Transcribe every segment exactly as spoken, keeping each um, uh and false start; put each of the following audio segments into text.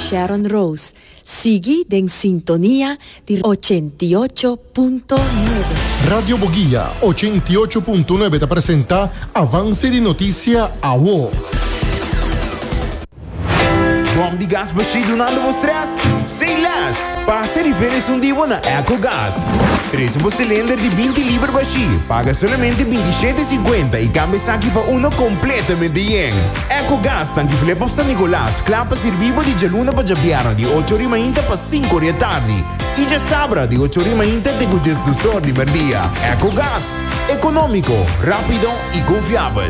Sharon Rose. Sigui den sintonia di ochenta i ocho punto nuebe. Radio Boguia ochenta i ocho punto nuebe ta presenta Avance di Noticia Awo. Bom di gas bashí dunando bo stress? Say less! Pasa riba un dia na EcoGas. Trese un cylinder di binti liber bashí. Paga solamente bintishete sinkuenta i kambia esaki pa uno kompletamente yen. EcoGas, tanki Flip San Nicolas, kla pa sirbi di djaluna pa djabièrnè di ocho or di mainta pa sinku or di atardi. I djasabra di ocho or di mainta te diesdos or di mèrdia. EcoGas, ekonómiko, rápido i konfiabel.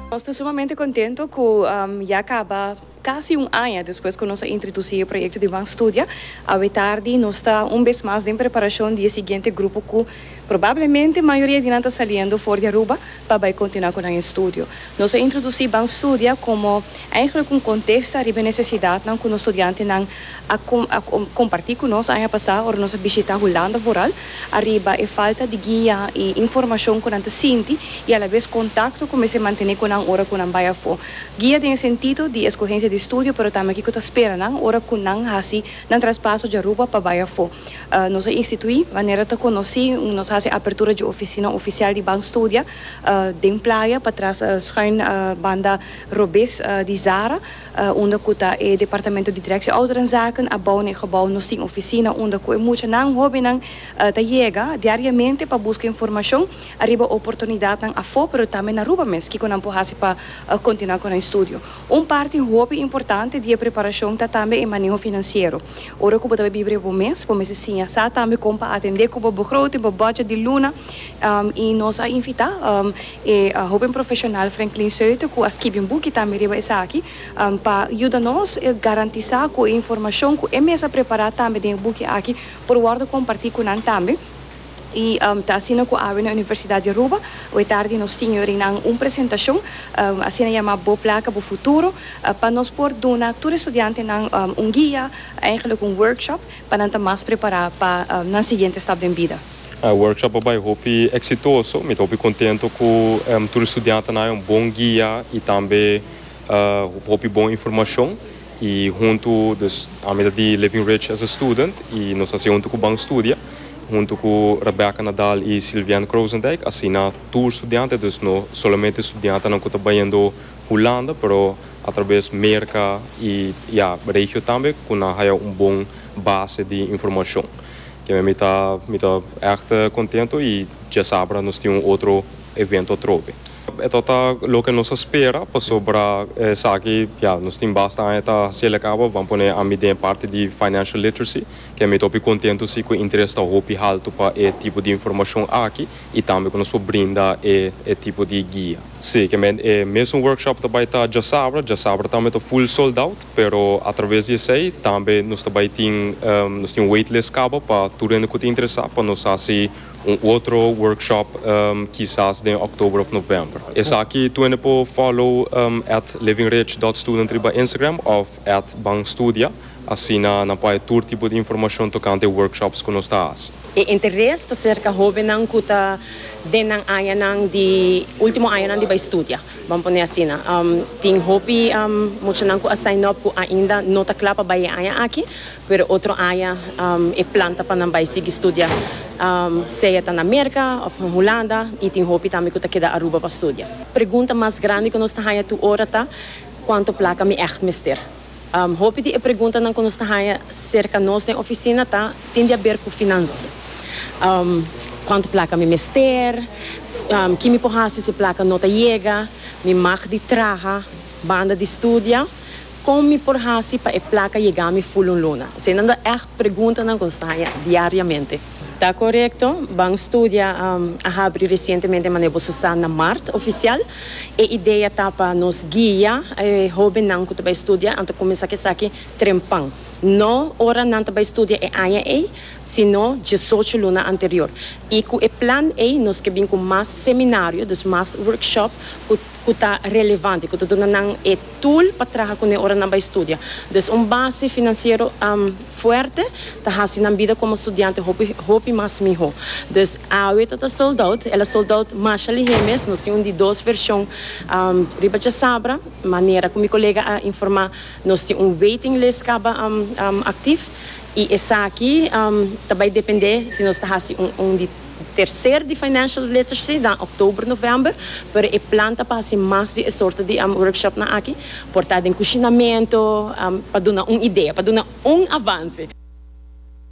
Ta sumamente kontentu ku um, ya kaba kasi un aña despues ku nos a introdusí e proyekto di Ban Studia. Awe tardi nos ta un bes mas den preparashon di e siguiente grupo ku probablemente mayoria di nan ta saliendo for di Aruba pa bai kontinuá ku e estudio. Nos a introdusí Ban Studia komo eigenlijk un kontesta riba nesesidatnan ku e studiantenan a, a, kompartí ku nos aña pasá ora nos a bishitá Hulanda vooral ariba e falta di guia i informashon ku nan ta sinti i a la bes kontakto ku mester mantené ku nan ora ku nan bai afó. Guia den sentido di eskohensia di estudio, pero tambe kiko ta spera nan ora ku nan hasi nan traspaso di Aruba pa bai afó. Uh, nos a instituí, manera ta konosí, nos a hasi apertura di ofisina ofisial di Ban Studia uh, den Playa, patras uh, schuin uh, banda robes uh, di Zara, uh, unda ku ta e departamento di Directie Ouderenzaken, abou na gebouw nos tin ofisina unda ku muchanan hóbennan uh, ta yega diariamente pa buska informashon ariba oportunidatnan afó, pero tambe na Aruba mes, kiko nan por hasi pa uh, kontinuá ku e estudio. Un parti hopi importante di preparashon ta tambe e maneho finansiero. Ora ku bo ta biba bo mes, bo mester siña sa tambe kon pa atendé ku bo begroting, bo budget di luna, um, i nos a invitá um, e uh, hóben profeshonal Franklin Seute, ku a skirbi un buki tambe riba esaki, um, pa yuda nos garantisá ku e informashon ku e mes a prepará tambe den e buki aki por wòrdu kompartí ku nan tambe. I um, ta asina ku awe na Universidat di Aruba, awe tardi nos tin un presentashon, um, asina yamá Bo Plaka, Bo Futuro, uh, pa nos por duna tur studiantenan um, un guia, eigenlijk un workshop, pa nan ta mas prepará pa um, nan siguiente stap di bida. E workshop a bai hopi eksitoso, mi ta hopi kontentu ku um, tur studiantenan un bon guia i tambe uh, hopi bon informashon i huntu, dus ami di Living Rich as a Student i nos a hasi huntu ku Ban Studia, huntu ku Rebecca Nadal i Sylviane Krozendijk, asina tur studiante, dus no solamente studiantenan ku ta bayendo Hulanda, pero atraves Merka i ja, regio tambe, ku nan un bon base di informashon. Ku mi ta mi ta echt kontentu i djasabra nos tin un otro evento trobe. E ta loke nos a spera, pasobra esaki, ja, nos tin basta aña ta hasié kaba, ban pone ami den parti di financial literacy, ku mi ta kontentu si ku interes ta hopi haltu pa e tipo di informashon aki i tambe ku nos por brinda e, e tipo di guia. Si, ku e mesun workshop tambe ta djasabra, djasabra tambe ta full sold out, pero atraves di esei tambe nos tambe tin um, nos tin un waitlist kaba pa tur ku ta interesá pa nos hasi un otro workshop um, kisas den òktober òf novèmber. Esaki tur por follow um, at livingrich punt student riba Instagram òf at banstudia. Asina nan por tur tipo di informashon tokante workshops ku nos ta. E interes ta serka hóbennan ku ta den nan añanan di último añanan di bai studia. Ban pone asina. Um, tin hopi um, muchanan ku a sign up ku ainda no ta kla pa bai e aña aki, pero otro aña um, e plan ta pa nan bai sigui studia. Um, sea ta na Merka òf na Hulanda i tin hopi tambe ku ta keda Aruba pa studia. Pregunta mas grandi ku nos ta haya tur ora ta kuantu plaka mi echt mester. Um, hopi di e preguntanan ku nos ta haya serka nos na ofisina ta tin di aber ku finansia. Um, kuantu plaka mi mester, um, kiko mi por hasi si plaka no ta yega, mi mag di traha, banda di studia, kon mi por hasi pa e plaka yega mi full un luna. Eseinan ta echt preguntanan ku nos ta haya diariamente. Ta korekto, Ban Studia um, a habri resientemente, manera boso sa, na mart ofisial. E idea ta pa nos guia e hóbennan ku ta bai studia, anto kuminsá ku esaki trempan. No ora nan ta bai studia e aña ei, sino diesocho luna anterior. I ku e plan ei nos ke bin ku mas seminario, dus mas workshop, ku Ku ta relevante, ku ta duna nan e tool pa traha kuné ora nan bai studia. Dus un base finansiero um, fuerte ta hasi nan bida komo studiante hopi, hopi mas mihó. Dus awe ta sold out, el a sold out masha lihé mes, nos tin un di dos vershon um, riba djasabra, manera ku mi kolega a informá, nos tin un waiting list kaba um, um, aktivo i esaki um, tambe dependé si nos ta hasi un, un di terser di financial literacy na òktober, novèmber, pero e plan ta pa mas di sorto di um, workshop nan aki, por ta den kushinamentu, um, pa duna un idea, pa duna un avanse.